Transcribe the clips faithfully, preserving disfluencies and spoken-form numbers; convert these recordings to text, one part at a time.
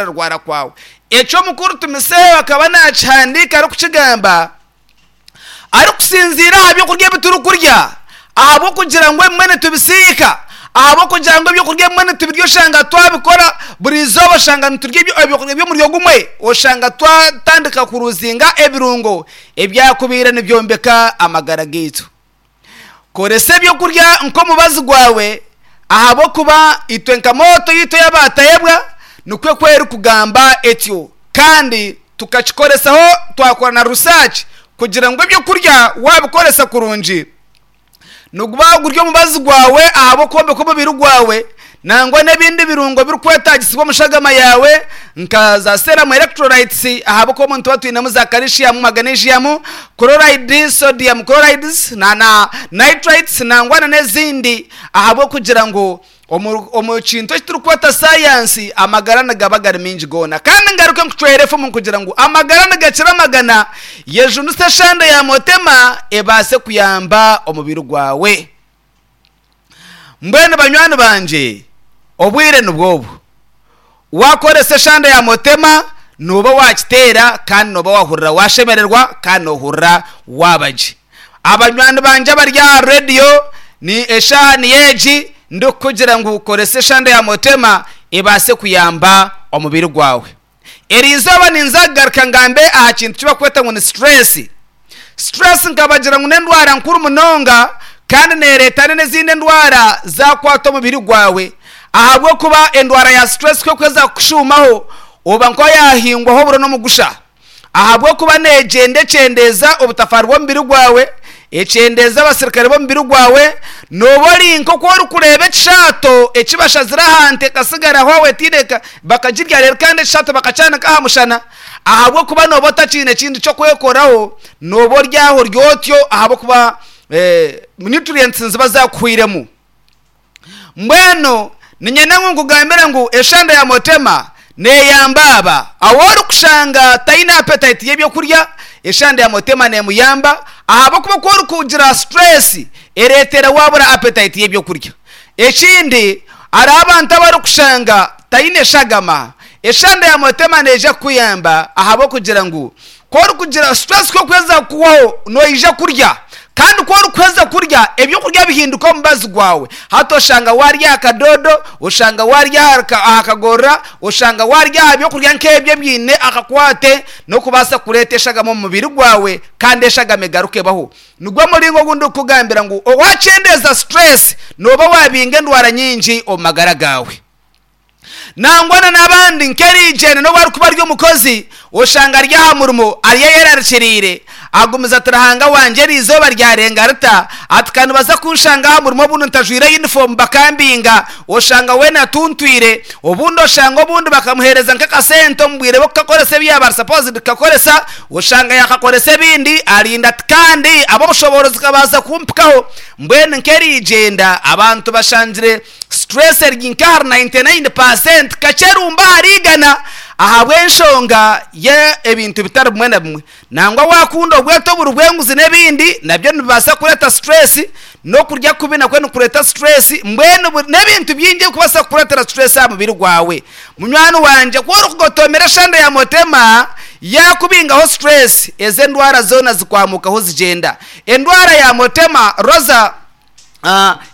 okurwararwara kwawe. Ekyo omukuru Timoteyo akaba naakihandiika arikukigamba arikusinziira aha byokurya ebi turikurya, ahabw'okugira ngu ebimwe nitubisiika, ahabw'okugira ngu ebyokurya ebimwe nitubirya oshanga twabikora buri izooba, oshanga niturya ebyokurya by'omuryo gumwe, oshanga twatandika kuruzinga ebirungo ebyakubaire nibyombeka amagara gaitu. Koresa ebyokurya nk'omubazi gwawe, ahabw'okuba itwe nka mooto yaitu ey'abatayebwa nikwo ku erikugamba etyo, kandi tukakikoresaho twakora na research kugira ngu ebyokurya wabikoresa kurungi niguba guri omubazi gwawe ahabw'okwombeka omubiri gwawe, nangwa n'ebindi birungo ebirikwetagisibwa omu shagama yaawe nka za serum electrolytes, ahabw'okuba omu nituba twinemu za calcium, magnesium, chloride, sodium chlorides na na nitrites nangwa na n'ezindi, ahabw'okugira ngu omu omu kintu eki turikweta sayansi amagara nigaba gari maingi goona. Kandi ngaruke nkucwere efumu kugira ngu amagara nigakira amagana, yejunise eshande ya motema ebaase kuyamba omubiri gwawe. Mbwenu banywani bangye, obwire nibwo obu. Wakoresa eshande ya motema nooba wakiteera kandi nooba wahurira washemererwa kandi noohurira waaba gye. Abanywani bangye abari aha rediyo, ni eshaaha niyo egi ndikukugira ngu koresa eshande ya motema ebaase kuyamba omubiri gwawe. Eri izooba ninza kugaruka ngambe aha kintu eki barikweta ngu ni stress. Stress nkabagira ngu n'endwara nkuru munonga kandi neereeta n'ezindi endwara zaakwata omubiri gwawe, ahabw'okuba endwara ya stress ku erikuheza kukushuumaho oba nk'owaahingwaho oburo n'omugusha, ahabw'okuba neegyenda ekyendeeza obutafaari bw'omubiri gwawe, ekyendeeza abasirikare b'omubiri gwawe, nooba ori nk'oku orikureeba ekishaato eki bashazire aha nte ekasigaraho aho etaine bakagirya reero kandi ekishaato bakakyanika aha mushana, ahabw'okuba nooba otakiine kindi ky'okwekoraho, nooba ori aho ori otyo ahabw'okuba nutrients niziba zaakuhwairemu. Mbwenu niinyenda ngu nkugambire ngu eshande ya motema neeyamba aba ahu orikushanga taine appetite y'ebyokurya, eshande ya motema neemuyamba ahabw'okuba ku orikugira stress ereetera waabura appetite y'ebyokurya. Ekindi hariho abantu abarikushanga taine shagama, eshande ya motema neija kukuyamba ahabw'okugira ngu ku orikugira stress ku erikuheza kukuhwaho noija kurya, kandi ku orikuheza kurya ebyokurya bihinduka omubazi gwawe. Hati oshanga waarya aha kadodo, oshanga waarya aha kagorora, oshanga waarya aha byokurya nk'ebyo ebiine akakwate n'okubaasa kureeta eshagama omu mubiri gwawe kandi eshagama egaruke ebaho. Nigwo muringo ogu ndikukugambira ngu waakyendeeza stress nooba waabinga endwara nyingi omu magara gaawe. Nangwa na n'abandi nk'eriigyenda n'obu arikuba ari omukozi oshanga ari aha murimo ari ayerarikiriire, agumize ati Ruhanga wangye eri izooba ryarenga rita, ati ka nibaza kunshanga aha murimo obundi ntajwaire yunifoomu bakambinga, oshanga weena atuntwire, obundi oshanga obundi bakamuheereza nk'akasente omu bwire bw'okukakoresa ebi yaaba ari supposed kukakoresa, oshanga yaakakoresa ebindi, arinda ati kandi ab'obushoboorozi kabaasa kumpikaho. Mbwenu nk'eriigyenda abantu bashangire stress eri nk'ahari ninety nine percent kakyerumba ahari igana ahabw'enshonga y'ebintu bitari bimwe na bimwe. Nangwa waakunda obweto oburi bw'enguzi n'ebindi nabyo nibibaasa kureeta stress, n'okurya kubi nakwo nikureeta stress, mbwenu n'ebintu bingi ebirikubaasa kukureetera stress aha mubiri gwawe. Munywani wangye ku orikugotomera eshande ya motema yaakubingaho stress, ezo endwara zoona zikwamukaho zigyenda. Endwara ya motema roza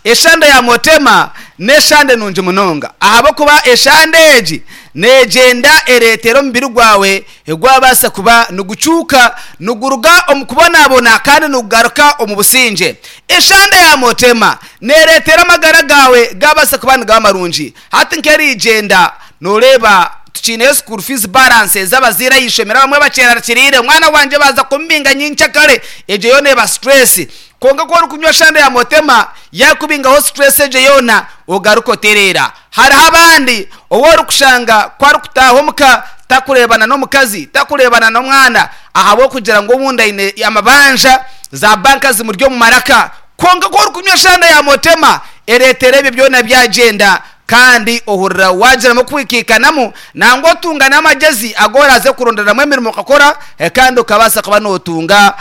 eshande ya motema n'eshande nungi munonga, ahabw'okuba eshande egi neegyenda ereetera omubiri gwawe gwabaasa kuba nigucuuka, niguruga omu kubonabona kandi nigugaruka omu busingye. Eshande ya motema neereetera amagara gaawe gaabaasa kuba nigaba marungi. Hati nk'eriigyenda nooreeba tukiineyo school fees balance ez'abazaire aha ishomero abamwe bakyerarikiriire, omwana wangye baaza kumubinga nyenkyakare, egyo yoona eba stress. Kwonka ku orikunywa eshande ya motema yaakubingaho stress egyo yoona ogaruka otereera. Hariho abandi ou orikushanga ku arikutaaha omuka takureebana n'omukazi, takureebana n'omwana ahabw'okugira ngu obundi aine amabanja, za banka zimuri omu maraka. Kwonka ku orikunywa eshande ya motema ereetera ebyo byona byagyenda kandi ohurira waagiramu okwikaikanamu nangwa otunga n'amagyezi agu oraaze kuronderamu emirimo okakora kandi okabaasa kuba nootunga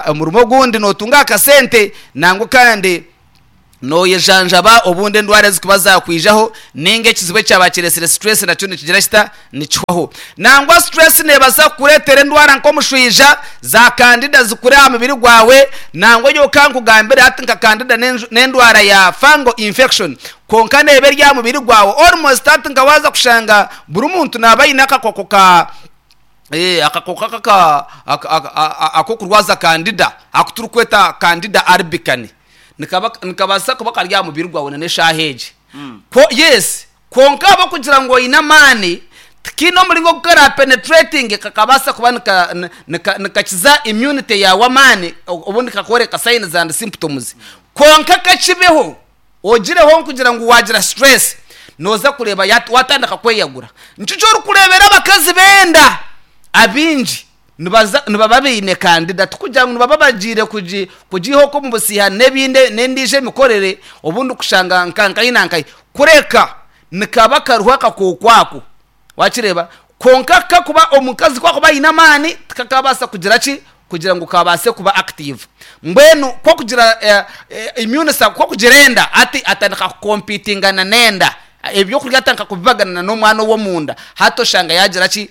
omurimo ogundi nootunga akasente nangwa kandi Noyejanjaba obundi endwara ezikuba zakwijaho ninga ekizibu ekyaba kiresire stress nakyo nikigira kita? Nikihwaho. Nangwa stress nebaasa kukureetera endwara nk'omushwija, za candida zikure aha mubiri gwawe. Nangwa nyowe nkugambire hati nka candida n'endwara ya fungal infection, kwonka neeba eri aha mubiri gwawe almost. Hati nka waaza kushanga buri muntu naaba aine akakooko ka akakooko ak'okurwaza candida, aku turikweta Candida albicans, nikabaasa kuba kari aha mubiri gwawe n'eshaaha egi. Yes, kwonka ahabw'okugira ngu oine amaani, tikiine omuringo ogu kara penetrating kakabaasa kuba nikakiza immunity yaawe amaani, obundi kakworeka signs and symptoms. Kwonka kakibeho ogireho nkugira ngu wagira stress, nooza kureeba watandika kweyagura. Nikyo orikureebera abakazi benda abaingi nibaba baine candida. Tikugira ngu nibaba bagiire kugiiha okwo omu busiha n'ebindi n'endiijo emikorere, obundi kushanga nka na nkahi, kureka nikaba kariho akakooko ako, wakireeba. Kwonka kakuba omukazi ku akuba aine amaani, tikakabaasa kugira ki, kugira ngu kabaase kuba active. Mbwenu kwokugira immune, kwokugira enda, hati atandika kukompitingana n'enda, ebyokurya atandika kubibagana n'omwana ow'omunda. Hati oshanga yagira ki?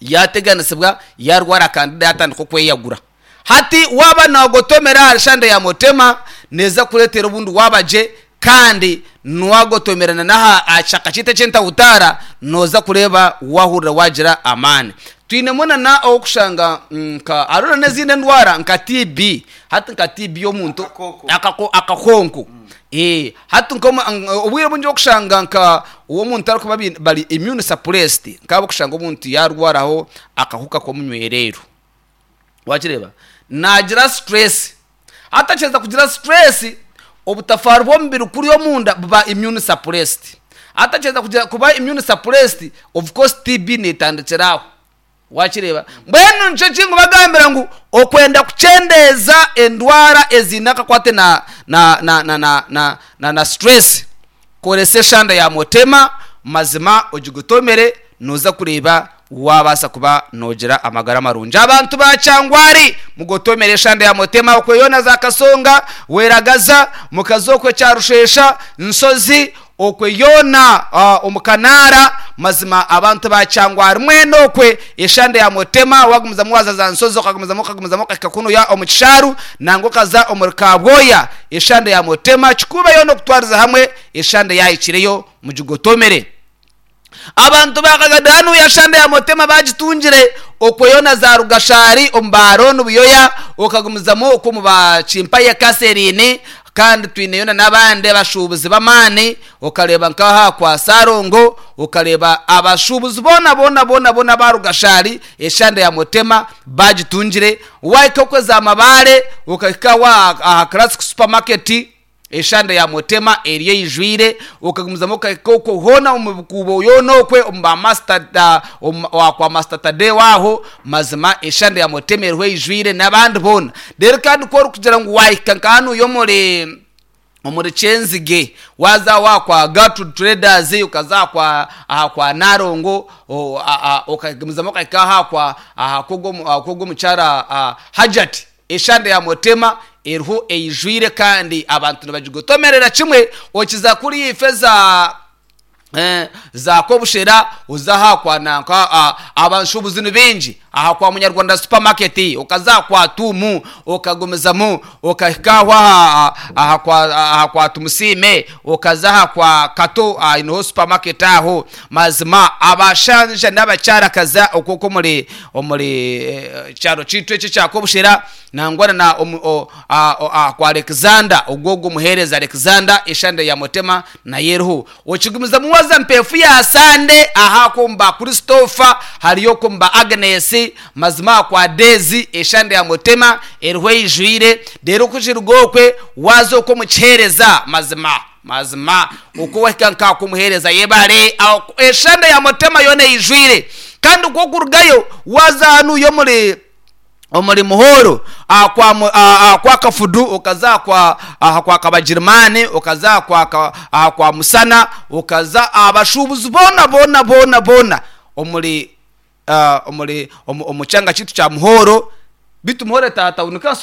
Yateganisibwa, yarwara candida, yatandika okweyagura. Hati waba nagotomera ahari shande ya motema, neza kureetera obundi waba gye. Kandi niwagotomerana n'aha kishaka kyaitu eky'entahutaara, noza kureeba wahurira wagira amaani. Twinemu nana owokushanga nka hariho n'ezindi endwara nka T B. Hati nka T B omuntu akakonko, hati obwire obwingi okushanga nka omuntu arikuba bari immune suppressed, nkaba okushanga omuntu yarwaraho akahuka k'omunywerero, wakireeba nagira stress. Hati kugira stress, obutafaari bw'omubiri kuri omunda buba immune suppressed. Hati kugira kuba immune suppressed, of course T B netandikira aho, wakireeba. Mbwenu nikyo kingu bagambira ngu okwenda kuchendeeza endwara eziine akakwate na na na na na na na na stress, koresa eshanda ya motema. Mazima ogigutomere, noza kureeba wabaasa kuba nogira amagara marungi. Abantu ba Kyangwari, mugotomere eshanda ya motema. Okweyona za Kasonga, Weragaza, mukazi okwe Kyarushesha, Nsozi, okweyona uh, omukanara. Mazima abantu ba Kyangwari mwene okwe eshanda ya motema. Wagumizamu waza za Nsozi, okagumizamu okagumizamu okahika kunuya omu Kisharu, nangwa okaza omuri Kabwoya, eshanda ya motema kikubeyo n'okutwariza hamwe eshanda yahikireyo, mugigotomere. Abantu bakagadanu yashanda ya motema bagitungire. Okweyona za Rugashari, omu Baroni Buyoya, okagumizamu okwo mu Bakimpaye Kaserini. Kandi twineyo n'abandi abashubuzi b'amaani, okareba nkaha kwa Sarongo, okareba abashubuzi bona bona bona bona ba Rugashari, eshanda ya motema bagitungire. Wahika okweza amabare, ukahika wa aha Classic Supermarket, eshanda ya motema eriyo eyijwire. Okagumizamu okahika okwo hoona omu bukuubo yoona okwe omu ba master kwa Master Tadeo aho, mazima eshanda ya motema eriho eyijwire n'abandi boona. Rero kandi ku orikugira ngu wahika nka hanu y'omuri omuri Kyenzige, waza wakwa Gatu Traders, ukaza kwa aha kwa Narongo, okagumizamu okahika aha kwa aha kwogo omukyara Hajati, eshanda ya motema eriho eyijwire kandi abantu nibagigotomerera kimwe. Okiza kuri ife za eh, za Kobushera, uza aha kwa nanka, abanshubuzi ni bingi aha kwa Munyarwanda Supermarket, ukaza kwa Tumu, okagumizamu okahika aha aha kwa aha kwa Tumusime, ukaza aha kwa Kato inoho supermarket aho. Mazima abashanja n'abacyara kaza okwo muri omuri eh, cyaro kitu eki kya Kobushera, nangwa na omu- o- a- o- a- kwa Alexander, ogwo muhereza Alexander, eshanda ya motema naye eriho. Okigumizamu waza mpefu ya sande aha kumba Christopher, hariyo kumba Agnes, mazima kwa Dezi, eshanda ya motema eriho eyijwire. Rero kukirugokwe waza okwo mukihereza, mazima mazima uko wahika nkakumuhereza yebare aho, eshanda ya motema yona eyijwire. Kandi uko kurugayo waza hanu yo muri omuri Muhoro, ah, kwa mu- ah, ah, kwa Kafudu, ukaza kwa aha kwa Kabagirimani, ukaza kwa ka- aha kwa Musana, ukaza abashubuzi bona bona bona bona omuri ah, omuri omu omu kyanga kitu kya Muhoro, bitu Muhoro tata unukaso.